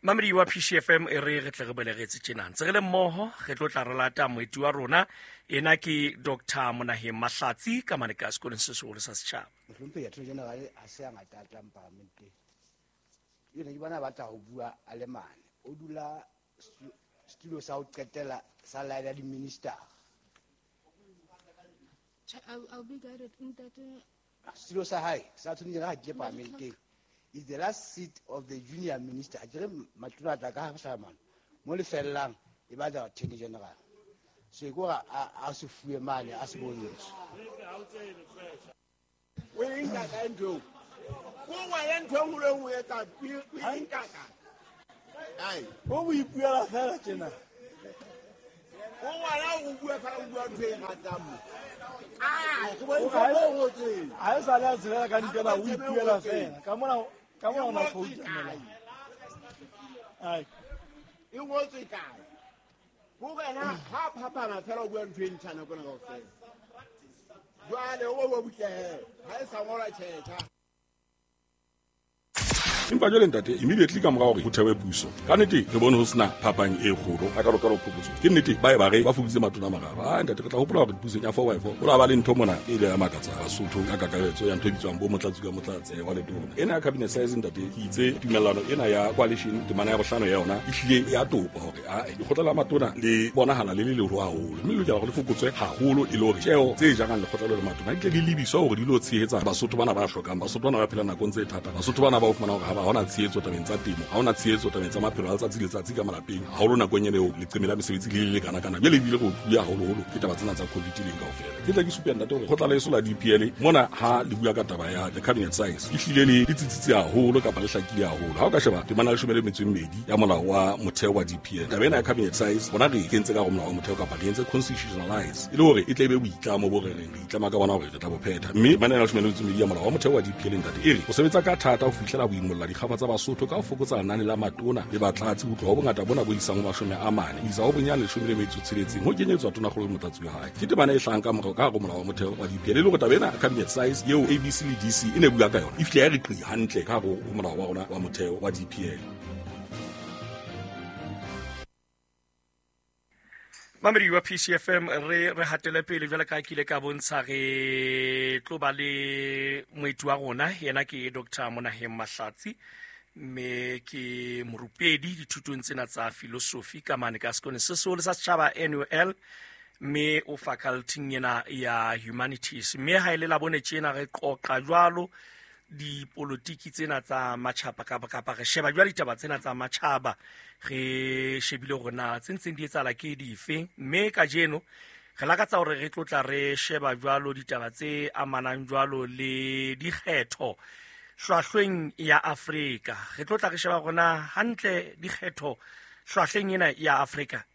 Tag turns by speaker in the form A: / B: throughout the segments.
A: Mamedi wa PCFM, e re re tle re boele re etse tjena ntse re le mmoho, re tlo tla re lata moeti wa rona. Ena ke Dr Monaheng Mahlatsi ka mane ka sekolong se seholo sa setjhaba.
B: Mohlomphehi Attorney General ha se a ngata a tlang paramenteng ene, ke bona batla ho bua a le mane. O dula setulo sa ho qetela sa line ya di-minister.
C: I'll be guided. Ntate.
B: Setulo sa hae sa Attorney General ha ke paramenteng is the last seat of the junior minister. A kere matona a tla ka hlahamano mo le fellang e batla Attorney General, so e kore a se fuwe mane a se bontswe.
D: O e nka kae ntho eo? Ko wena ntho e nngwe le nngwe etsa, o e nka kae? Ai.
E: O mo ipuela fela tjena.
D: O ngwana o bua fela, o bua ntho e ratang mo. Ah, ke bontsha mo o ngotseng.
E: Ha e sale a tshelela ka dikela, o ipuela fela ka mona, ka mona ona khoutamela. Ai.
D: E ngotswe kae? Ko wena ha phapana fela, o bua ntho e ntjha nako ena kaofela. Jwale o bua butle he. Ha e sa ngolwa tjhetjha.
F: Empa jwale, ntate, immediately ka mora hore ho thewe puso, ka nnete re bone ho sena phapang e kgolo a kalokalo phokotso. Ke nnete ba e ba re ba fokoditse matona a mararo. A ntate, re tla hopola hore pusong ya four by four go la ba le ntho mona e ile ya makatsa Basotho ka kakaretso ya ntho e bitswang bo motlatsi ka motlatse wa letona ena ya cabinet size. Ntate, ke itse tumellano ena ya coalition, temana ya bohlano ya yona e hlile ya topa hore ae lekgotla la matona le bonahala le le leholo haholo, mme le lokela hore le fokotswe haholo e le hore tjeo tse jarang lekgotla le le matona di tle di lebiswa hore di lo tshehetsa Basotho bana ba hlokang, Basotho bana ba phelang nakong tse thata, Basotho bana ba o fumana hore ha ba hona tshehetso tabeng tsa temo, ha hona tshehetso tabeng tsa maphelo a letsatsi le letsatsi ka malapeng, haholo nakong ena eo leqeme la mesebetsi le le lekana-kana. Jwale ebile re otluwe haholoholo ke taba tsena tsa COVID leng kaofela. Ke tla ke supe, ntate, hore kgotla leso la DPL mona ha le bua ka taba ya the cabinet size, e hlile le tsitsitse haholo kapa le hlakile haholo. Ha o ka sheba temana 12 ya molao wa motheo wa DPL, taba ena ya cabinet size bona re e kentse ka go molao wa motheo kapa re entse constitutionalize e le hore e tle e be boitlamo bo re reng re itlama ka bona hore re tla bo phetha. Mme temana ena 12 ya molao wa motheo wa DPL, ntate, e re o sebetsa ka thata ho fihlela ho imolla dikgafa tsa Basotho ka ho fokotsa lenane la matona le batlatsi ho tloha ho bongata bona bo isang ho 40 ho isa ho bonyane 16 ho kenyetswa tonakgolo le motlatsi wa hae. Ke temana e hlahang ka morao ka hare ho molao wa motheo wa DPL, e le hore taba ena cabinet size eo ABC le DC e ne bua ka yona e fihle ya re qi hantle ka hare ho molao wa rona wa motheo wa DPL.
A: Mamedi wa PCFM, re hatele pele. Jwale ka ke ile ka bontsha, re tlo ba le moeti wa rona. Yena ke Dr Monaheng Mahlatsi, mme ke morupedi dithutong tsena tsa philosophy ka mane ka sekolong se seholo sa setjhaba, NUL, mme o faculty ena ya humanities. Mme ha e le la bone tjena re qoqa jwalo dipolotiki tsena tsa matjhaba, kapa re sheba jwale ditaba tsena tsa matjhaba, re shebile hore na tse ntseng di etsahala ke dife. Mme kajeno re lakatsa hore re tlotla re sheba jwalo ditaba tse amanang jwalo le dikgetho hlwahlweng ya Afrika. Re tlotla re sheba hore na hantle dikgetho hlwahlweng ena ya Afrika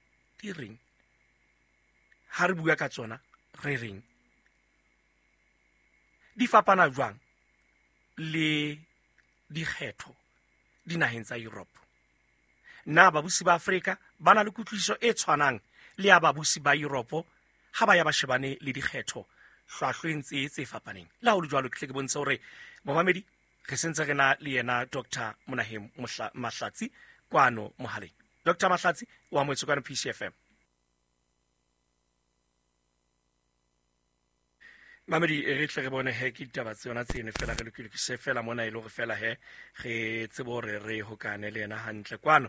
A: di reng, ha re bua ka tsona re reng, di fapana jwang le dikgetho dinaheng tsa Europe, na babusi ba Afrika ba na le kutlwisiso e tshwanang le ya babusi ba Europe ha ba ya ba shebane le dikgetho hlwahlweng tse fapaneng. Le ha ho le jwalo, ke tle ke bontshe hore momamedi re sentse re na le yena Dr Monaheng Mahlatsi kwano mohaleng. Dr Mahlatsi wa amohetswe kwano PCFM. Mamedi, re tle re bone he ke ditaba tse yona tseno fela re lokilokise fela mona e le hore fela he re tsebe hore re hokane le yena hantle kwano.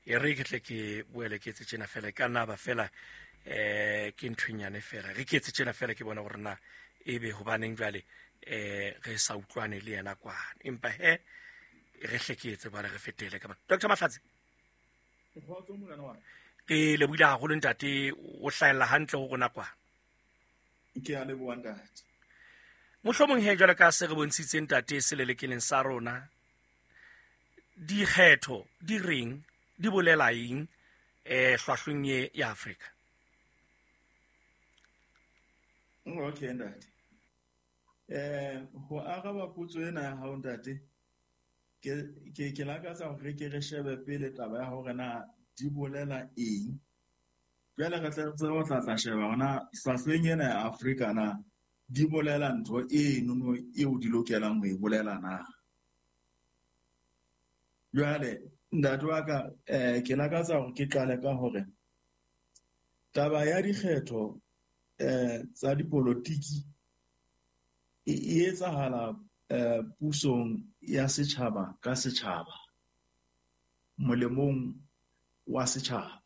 A: E re ke tle ke boele ke etse tjena fela, e ka nna ba fela ke nthonyane fela re ke etse tjena fela, ke bone hore na ebe hobaneng jwale re sa utlwane le yena kwano. Empa he re hle ke etse bana re fetele ka mona. Dr Mahlatsi, ke lebohile haholo, ntate, o hlahella hantle ho rona kwano.
G: Ke a leboha, ntate.
A: Mohlomong he jwale ka se re bontshitseng, ntate, selelekeleng sa rona, dikgetho di reng, di bolela eng hlwahlweng ye ya Afrika?
G: Okay, ntate, ho araba potso ena ya hao, ntate, ke lakatsa hore ke re shebe pele taba ya hore na di bolela eng. Jwale re tle re tsebe ho tla sheba hore na hlwahlweng ena ya Afrika na di bolela ntho enono eo di lokelang ho e bolela na. Jwale Ntate wa ka, ke lakatsa hore ke qale ka hore taba ya dikgetho tsa dipolotiki e etsahala pusong ya setjhaba ka setjhaba, molemong wa setjhaba.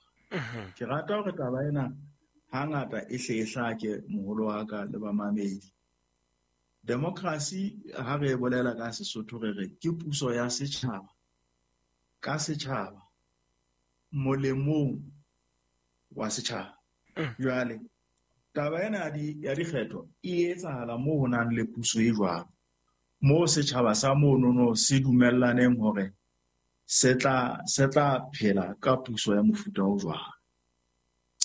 G: Ke rata hore taba ena hangata e hle e hlake, moholo wa ka le bamamedi. Democracy ha re e bolela ka Sesotho re re ke puso ya setjhaba ka setjhaba, molemong wa setjhaba. Jwale taba ena ya dikgetho e etsahala moo ho nang le puso e jwalo, moo setjhaba sa monono se dumellaneng hore se tla phela ka puso ya mofuta o jwalo.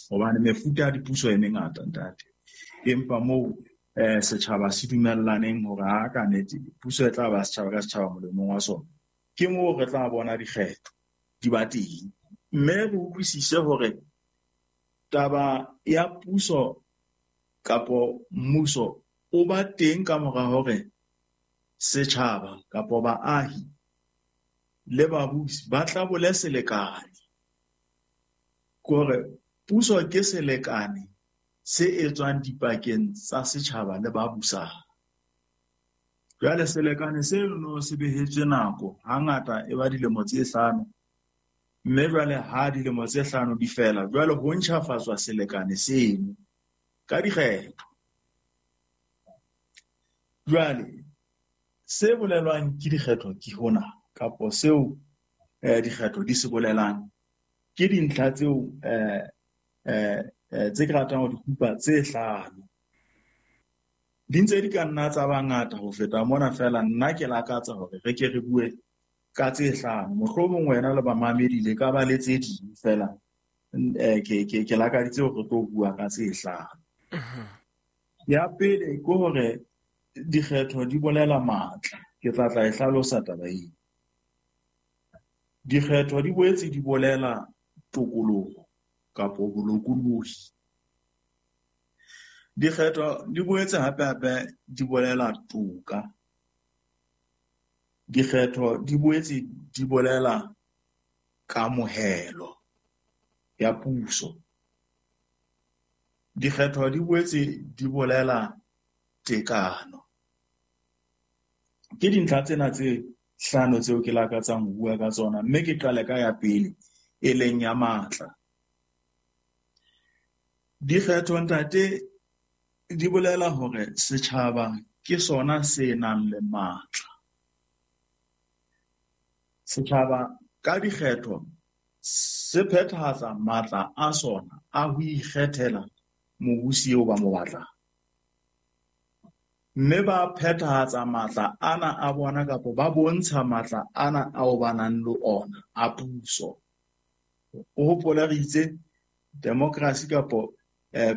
G: Hobane mefuta ya dipuso e mengata, ntate, empa moo setjhaba se dumellaneng hore ha ka nnete puso e tla ba setjhaba ka setjhaba molemong wa sona, ke moo re tla bona dikgetho di ba teng. Mme re utlwisise hore taba ya puso kapo mmuso o ba teng ka mora hore setjhaba kapo baahi le babusi ba tlabole selekane. Kore puso ke selekane se etswang dipakeng tsa setjhaba le ba busang. Jwale selekane seno se behetswe nako, hangata e ba dilemo tse 5, mme jwale ha dilemo tse 5 di fela, jwale ho ntjhafatswa selekane seno ka dikgetho. Jwale se bolelwang ke dikgetho ke hona, kapo seo dikgetho di se bolelang ke dintlha tseo tse ke ratang ho di kupa tse 5. Di ntse di ka nna tsa ba ngata ho feta mona, fela nna ke lakatsa hore re ke re bue ka tse 5. Mohlomong wena le bamamedi le ka ba le tse ding, fela ke lakaditse hore re tlo bua ka tse 5. Ya pele ke hore dikgetho di bolela matla. Ke tla tla e hlalosa taba eo. Dikgetho di boetse di bolela tokoloho kapo bolokolohi. Dikgetho di boetse hape-hape di bolela toka. Dikgetho di boetse di bolela kamohelo ya puso. Dikgetho di boetse di bolela tekano. Ke dintlha tsena tse 5 tseo ke lakatsang ho bua ka tsona, mme ke qale ka ya pele e leng ya matla. Dikgetho, ntate, di bolela hore setjhaba ke sona se nang le matla. Setjhaba ka dikgetho se phethahatsa matla a sona a ho ikgethela mobusi eo ba mo batlang. Mme ba phethahatsa matla ana a bona kapo ba bontsha matla ana ao ba nang le ona a puso. O hopole re itse democracy kapo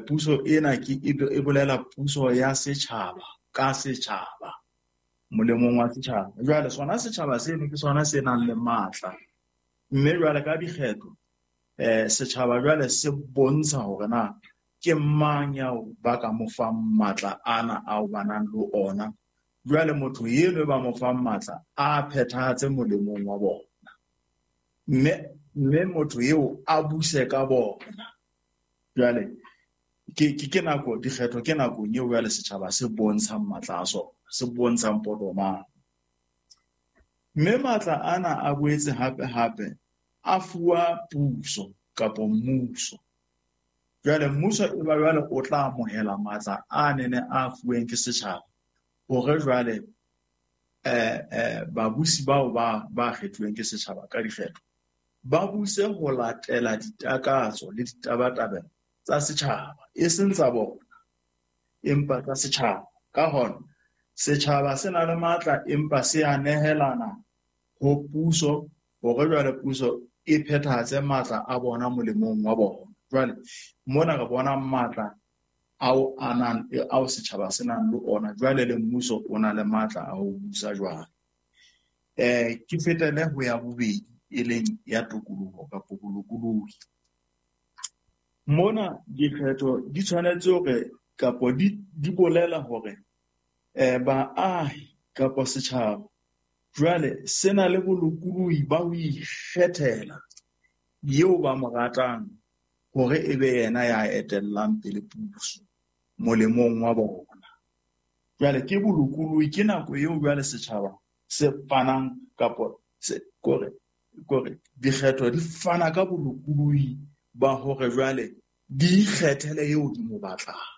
G: puso ena ke e bolela puso ya setjhaba ka setjhaba, molemong wa setjhaba. Jwale sona setjhaba seno ke sona se nang le matla. Mme jwale ka dikgetho setjhaba jwale se bontsha hore na ke mang ya ba ka mo fang matla ana ao ba nang le ona. Jwale motho eno ba mo fang matla a phethahatse molemong wa bona, mme motho eo a buse ka bona. Jwale ke nako dikgetho ke nakong eo jwale setjhaba se bontshang matla a sona, se bontshang potomane. Mme matla ana a boetse hape-hape a fuwa puso kapo mmuso. Jwale mmuso e ba jwale o tla amohela matla a nene a fuweng ke setjhaba hore jwale babusi bao ba kgethuweng ke setjhaba ka dikgetho ba buse ho latela ditakatso le ditabatabelo tsa setjhaba, e seng tsa bona, empa tsa setjhaba. Ka hona setjhaba se na le matla, empa se a nehelana ho puso hore jwale puso e phethahatse matla a bona molemong wa bona. Jwale mona re bona matla ao a nang ao setjhaba se nang le ona, jwale le mmuso o na le matla a ho busa jwale. Ke fetele ho ya bobedi e leng ya tokoloho kapa bolokolohi. Mona dikgetho di tshwanetse hore kapo di bolela hore baahi kapo setjhaba Jwale se na le bolokolohi ba ho ikgethela eo ba mo ratang hore e be yena ya etellang pele puso molemong wa bona. Jwale ke bolokolohi, ke nako eo jwale setjhaba se fanang kapo kore kore dikgetho di fana ka bolokolohi ba hore jwale di ikgethele eo di mo batlang.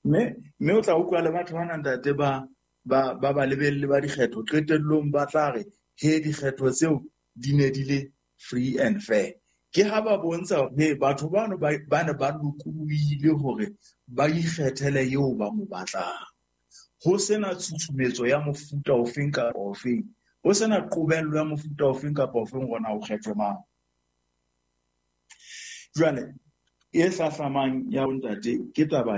G: Mme o tla utlwa le batho bana ntate ba ba balebelli ba dikgetho qetellong ba tla re he dikgetho tseo di ne di le free and fair. Ke ha ba bontsha hore he batho bano ba ne ba lokolohile hore ba ikgethele eo ba mo batlang. Ho sena tshusumetso ya mofuta ofeng kapa ofeng, ho sena qobello ya mofuta ofeng kapa ofeng hore na o kgethwe mang. Jwale e hlahlamang ya bontate ke taba